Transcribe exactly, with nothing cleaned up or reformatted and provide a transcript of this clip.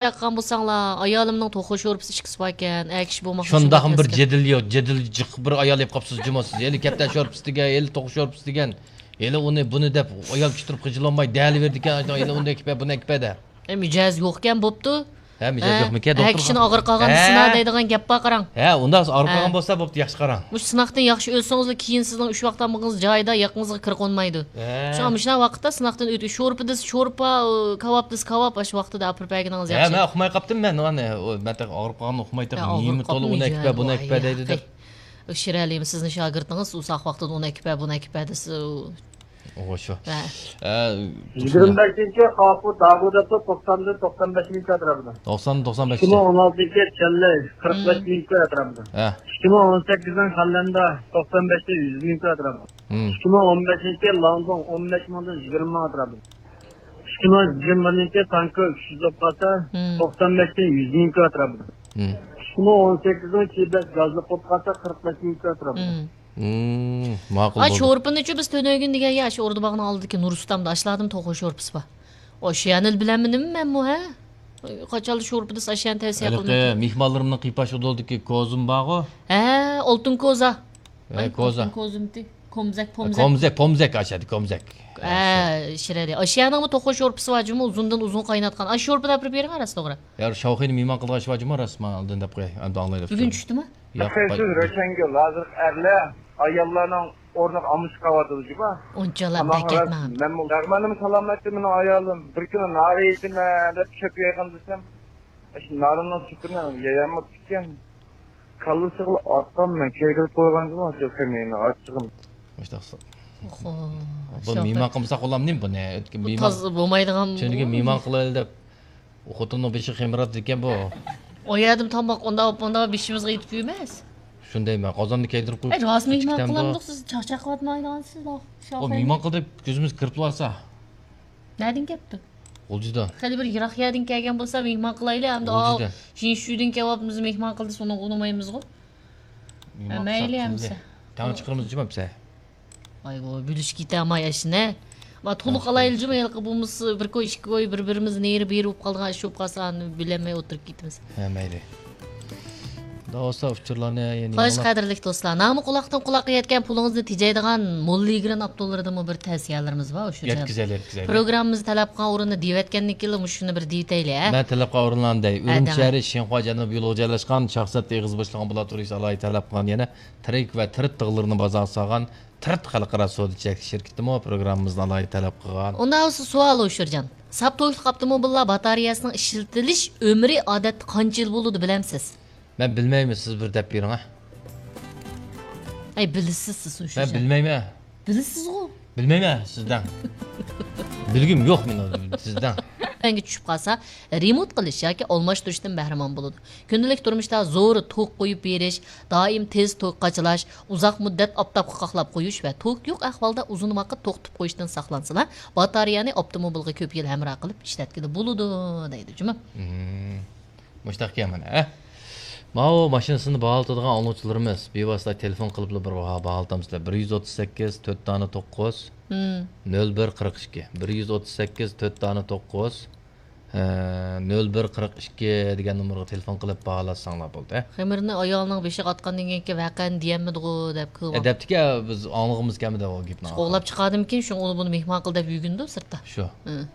ياققان بولساڭلار، ئايالىمنىڭ توخۇ شورپىسى ئىچكۈسى باركەن، ئەكىشى بولماقچى. شۇنداقمۇ بىر جېدىل يوق، جېدىل جىق بىر ئايال يەپ قاپسىز جۇمۇ سىز. ھېلى كەپتەر شورپىسى دېگەن، ھېلى توخۇ شورپىسى دېگەن، ھېلى ئۇنى بۇنى دەپ ئايال كۈتتۈرۈپ خىجىل بولماي دەلىۋېرىدىكەن، ھېلى ئۇنى ئەكىپە، بۇنى ئەكىپە دە. ئە، مىجەز يوقكەن بوپتۇ. ھە، مىجەز ھە، يوقمىكەن، ھە، دوختۇر؟ كىشىنى ئاغرىپ قالغان دېسىنا دەيدىغان گەپ بار، قاراڭ. ھە، ئۇنداق ئاغرىپ قالغان بولسا بوپتۇ، ياخشى قاراڭ. مۇشۇ سىناقتىن ياخشى ئۆتسىڭىزلا، كېيىن سىزنىڭ ئۈچ ۋاقىت تامىقىڭىز جايىدا، يېقىڭىزغا كىر قونمايدۇ. ھە. شۇڭا مۇشۇنداق ۋاقىتتا سىناقتىن ئۆتۈپ، شورپا دېسە شورپا، كاۋاپ دېسە كاۋاپ، ئاشۇ ۋاقتىدا ئاپىرىپ بەرگىنىڭىز ھە، ياخشى. مەن ئۇقماي قاپتىم، مەن ئۇنى، ئۇ، مەن تېخى ئاغرىپ قالغان ئۇقماي تېخى، ھە، ئاغرىپ نېمە تولا قاپمۇ ئۇنى ئەكىپە، بۇنى ئەكىپە دەيدۇ دەپ. شىرئەلىمۇ سىزنىڭ شاگىرتىڭىز ئۇزاق ۋاقىتتىن ئۇنى ئەكىپە، بۇنى ئەكىپە دېسە، ئۇ ئوغۇ شۇ. ھە. ئە، يىگىرمە بەشىنچى قاپۇ داگۇ دەپتۇ، توقساندىن توقسان بەش مىڭ كىلو ئەتراپىدا. توقسان، توقسان بەش. ئىككى مىڭ ئون ئالتىنچى چەنلەي، قىرىق بەش مىڭ كىلو ئەتراپىدا. ھە. ئىككى مىڭ ئون سەككىزنىڭ خەنلەندە، توقسان بەشتىن يۈز مىڭ كىلو ئەتراپىدا. مم. ئىككى مىڭ ئون بەشىنچى لاڭدۇڭ، ئون بەش مىڭدىن يىگىرمە مىڭ ئەتراپىدا. ئىككى مىڭ يىگىرمە بىرىنچى تانكو ئۈچ يۈز بولۇپ قالسا، مم، توقسان بەشتىن يۈز مىڭ كىلو ئەتراپىدا. مم. ئىككى مىڭ ئون سەككىزنىڭ چىبەك گازلىق بولۇپ قالسا، قىرىق بەش مىڭ كىلو ئەتراپىدا. مم. مم، ماقۇل ئا، بولدى. شورپىنىچۇ بىز تۈنۈگۈن دېگەن يا، شۇ ئوردا باغنىڭ ئالدىدىكى نۇرسۇلتاندا ئاشلاردىمۇ توخۇ شورپىسى بار. ئاشۇ يەنىلا بىلەممۇ نېمە مەنمۇ، ھە؟ قاچانلا شورپا دېسە، ئاشۇ يەنى تەۋسىيە قىلىمەن. ھېلىقى مېھمانلىرىمنىڭ قىيپاش ئۇدۇلىدىكى كوزىمۇ بارغۇ؟ ھە، ئالتۇن كوزا. ھە، ئاي، كوزا. ئالتۇن كوزىمتى؟ كومزەك، پومزەك. كومزەك، پومزەك ئاشادى، كومزەك. ھە، شىرەلى. ئاشۇ يەرنىڭمۇ توخۇ شورپىسى بار جۇمۇ، ئۇزۇندىن ئۇزۇن قايناتقان. ئاشۇ شورپىنى ئاپىرىپ بېرىڭ، راست توغرا. يا، شاۋخۇينى مېھمان قىلغان ئىش بار جۇمۇ، راست، مانا ئالدىن دەپ قوياي. ئەمدى ئاڭلايلى. بۈگۈن چۈشتىمۇ؟ ياق، سىز روشەنگۈل، ھازىرقى ئەرلەر ئاياللارنىڭ ئورنىغا ئالمىشىپ قاۋاتىدۇ جۇمۇ. ئۇنچىلا بەك ئەتمەڭ. مەنمۇ، مەنمۇ سالامەتتە مېنىڭ ئايالىم. بىر كۈنى نارى يېيىمەن دەپ چۆپ يەيدىغان دېسەم، ئاشۇ نارىنىڭ چۆپىنى يەيەلمەپتىكەن. كاللىسىغىلا ئاتقان مەن كىرگۈزۈپ قويغان جۇمۇ، شۇ كۈنى ئاچچىقىم. مۇشتاق. ئوخو. بۇ مېھمان قىلمىساق بولامدىمۇ بۇنى؟ بۇ مېھمان، تازا بولمايدىغان تۈنۈگۈن مېھمان قىلايلى دەپ. ئۇ خوتۇننىڭ بېشى خېمىراتىدىكەن بۇ. ئۇ يەردىمۇ تاماق ئۇنداق، ئۇنداق بېشىمىزغا يېتىپ يۈرمەس. شۇندايمەن، قازاننى كەيدۈرۈپ قويۇپ ئەي، راست مېھمان قىلامدۇق، سىز چاقچاق قىلىۋاتمايدىغانسىز. ئۇ مېھمان قىلدى، كۆزىمىز كىرىپ تۇرسا. نەدىن كەپتۇ؟ غۇلجىدىن. خېلى بىر يىراق يەردىن كەلگەن بولسا مېھمان قىلايلى، ئەمدى ئاۋۇ غۇلجىدىن. جىنشۇدىن كەۋاپمىز مېھمان قىلدى، سۇنى ئۇنىمايمىزغۇ. مەيلى ئەمسە. تەڭ چىقىرىمىز جۇمۇ ئەمسە. ئايۋو، بۆلۈشۈپ كېتەلمەي ئاشۇنى. ما، تولۇق ئالايلى جۇمۇ، ھېلىقى بولمىسا بىر كوي، ئىككى كوي، بىر-بىرىمىز نېرى بېرى بولۇپ قالىدىغان ئىش بولۇپ قالسا، ئانى بىلەلمەي ئولتۇرۇپ كېتىمىز. ھە، مەيلى. دوستلار، ئۇچۇرلارنى يەنە خوش، قەدىرلىك دوستلار، نامى قۇلاقتىن قۇلاققا يەتكەن پۇلىڭىزنى تېجەيدىغان موللا يىگىرىن ئاپتوللىرىدىنمۇ بىر تەۋسىيەلىرىمىز بار، ئۇچۇر. يەتكۈزەيلى، يەتكۈزەيلى. پروگراممىمىزدا تەلەپ قىلغان ئورۇننى دېيىۋەتكەندىن كېيىنلا مۇشۇنى بىر دېيىۋېتەيلى، ھە؟ مەن تەلەپ قىلغان ئورۇنلارنى دەي. ئۈرۈمچى شەھىرى شىنخۇا جەنۇبىي يولىغا جايلاشقان، شاھزادە ئېغىز بوشلۇقىنىڭ بۇلاتورىيىسى ئالاھىدە تەلەپ قىلغان يەنە تىرىك ۋە تىرىت تىغلىرىنى بازارغا سالغان تىرىت خەلقئارا سودا چەكلىك شىركىتىمۇ پروگراممىمىزنى ئالاھىدە تەلەپ قىلغان. ئۇنداق بولسا سوئال، ئوشۇرجان. ساپ توكلۇق ئاپتوموبىللار باتارېيەسىنىڭ ئىشلىتىلىش ئۆمرى ئادەتتە قانچە يىل بولىدۇ، بىلەمسىز؟ مەن بىلمەيمەن، سىز بىر دەپ بېرىڭ، ھە. ئەي، بىلىسىز سىز، ئوشۇرجان. مەن بىلمەيمەن. بىلىسىزغۇ؟ بىلمەيمەن، سىز دەڭ. بىلگۈم يوق مېنىڭ، سىز دەڭ. تۆۋەنگە چۈشۈپ قالسا، رېمونت قىلىش ياكى ئالماشتۇرۇشتىن بەھرىمەن بولىدۇ. كۈندىلىك تۇرمۇشتا زور توك قويۇپ بېرىش، دائىم تېز توك قاچىلاش، ئۇزاق مۇددەت ئاپتاپقا قاقلاپ قويۇش ۋە توك يوق ئەھۋالدا ئۇزۇن ۋاقىت توختىتىپ قويۇشتىن ساقلانسىلا، باتارېيەنى ئاپتوموبىلغا كۆپ يىل ھەمراھ قىلىپ ئىشلەتكىلى بولىدۇ، دەيدۇ جۇمۇ. مم. مۇشتاق ئىكەن مانا، ھە؟ ماۋۇ ماشىنىسىنى باھالىتىدىغان ئاڭلىغۇچىلىرىمىز بىۋاسىتە تېلېفون قىلىپلا بىر باھا، باھالىتامسىلەر. بىر يۈز ئوتتۇز سەككىز، تۆت دانە توققۇز، مم. نۆل بىر قىرىق ئىككى. بىر يۈز ئوتتۇز سەككىز، تۆت دانە توققۇز، ھە، نۆل بىر قىرىق ئىككى دېگەن نومۇرغا تېلېفون قىلىپ باھالاتساڭلار بولدى. خېمىرنى ئايالىنىڭ بېشىغا ئاتقاندىن كېيىنكى ۋەقەنى دېيەلمىدىغۇ دەپ كۆپ ئە، دەپتىكى، بىز ئاڭلىغۇمىز كەلمىدى ئۇ گېپنى. قوغلاپ چىقاردىمىكىن، شۇڭا ئۇنى بۇنى مېھمان قىل دەپ يۈرگىنىدۇ سىرتتا. شۇ. ھە.